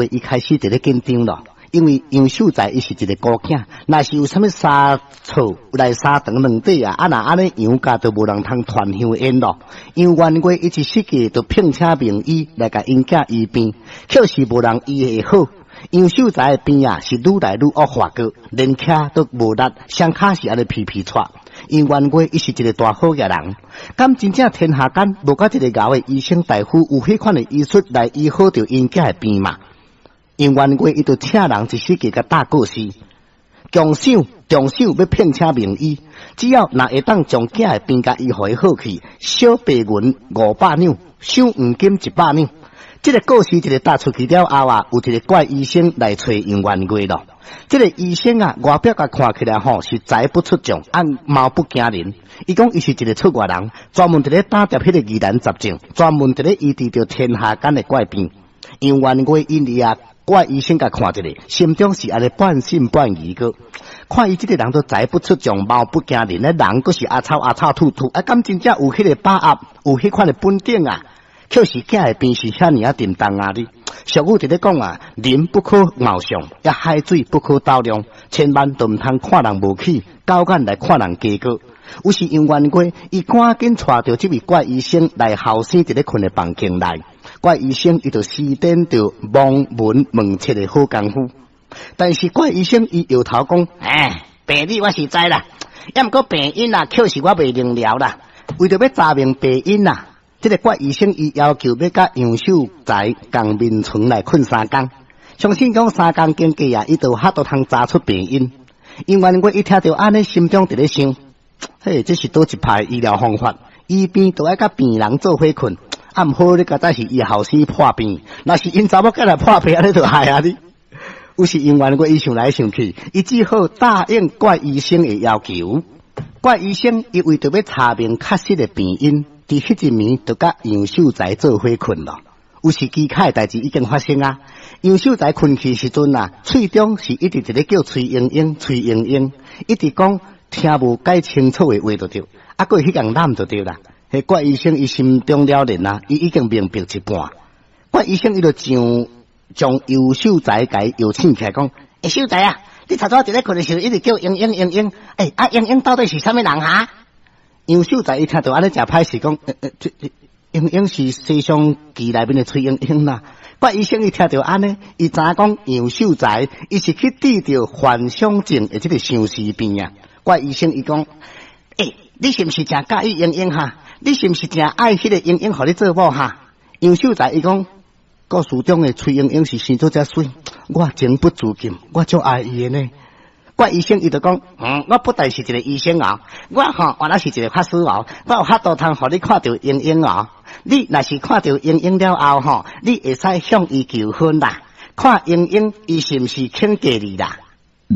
伊開始佇咧緊張咯，因為楊秀才伊是一個孤囝，若是有啥物差錯來三長兩短啊，啊若按呢楊家就無人通傳香煙咯。楊元月伊一時間就聘請名醫來共𪜶囝醫病，卻是無人醫會好。楊秀才的病啊是愈來愈惡化過，連徛都無力，雙跤是按呢皮皮掣。楊元月伊是一個大好額人，敢真正天下間無閣一個𠢕的醫生大夫有彼款的醫術來醫好著𪜶囝的病嘛？楊元月伊就請人一時間共打告示，強想重賞欲聘請名醫，只要若會當將囝的病共醫予伊好去，小白銀500兩，賞黃金100兩。這個告示一个打出去了後啊，有一個怪醫生來揣楊元月咯。這個醫生啊，外表共看起來吼是才不出眾，啊貌不驚人。伊講伊是一個出外人，專門佇咧打碟彼個疑難雜症，專門佇咧醫治著天下間的怪病。楊元月因為啊，怪醫生共看一下，心中是按呢半信半疑個。看伊這個人都才不出眾，貌不驚人，咧人閣是阿臭阿臭禿禿，啊，敢真正有彼個把握，有彼款的本領啊？卻是囝的病是遐爾仔沉重啊！哩俗語佇咧講啊，人不可貌相，抑海水不可斗量，千萬都毋通看人無起，狗眼來看人低過。於是楊元月伊趕緊帶著這位怪醫生來後生佇咧睏的房間內。怪醫生伊就施展著望聞問切的好功夫，但是怪醫生伊搖頭講：欸，病理我是知啦，抑毋過病因啊，確實我袂明了啦。為著欲查明病因啊，這個怪醫生伊要求欲佮楊秀才仝眠床來睏三工，相信講三工經過啊，伊就有法度通查出病因。楊元月伊聽著按呢，心中佇咧想：嘿，這是佗一派醫療方法？醫病都愛佮病人做伙睏，啊毋好你敢知是伊後生破病，若是𪜶查某囝來破病，按呢就害啊你。於是楊元月伊想來想去，伊只好答應怪醫生的要求。怪醫生伊為著欲查明確實的病因，佇彼一暝就佮楊秀才做伙睏咯。有時奇怪的代誌已經發生啊！楊秀才睏去時陣啊，喙中是一直佇咧叫崔鶯鶯、崔鶯鶯，一直講聽無解清楚的話就對，啊，閣去共攬就對啦。彼怪醫生伊心中了然啊，伊已經明白一半。怪醫生伊就上將楊秀才共搖醒起來講：欸，秀才啊，你頭拄佇咧睏的時陣一直叫鶯鶯鶯鶯，欸，啊鶯鶯到底是啥物人哈？楊秀才伊聽著按呢誠歹勢講，這鶯鶯是西廂記內面的崔鶯鶯啦。怪醫生伊聽著按呢，伊知影講楊秀才伊是去治著幻想症的這個相思病啊。怪醫生伊講，欸，你是毋是誠佮意鶯鶯哈？你是毋是誠愛彼個鶯鶯予你做某哈？楊秀才伊講，故事中的崔鶯鶯是生做遮媠，我情不自禁，我足愛伊的呢。怪醫生伊就講，我不但是一個醫生哦，我吼原來是一個法師哦，我有法度通予你看著鶯鶯哦。你若是看著鶯鶯了後吼，你會使向伊求婚啦。看鶯鶯伊是毋是肯嫁你啦？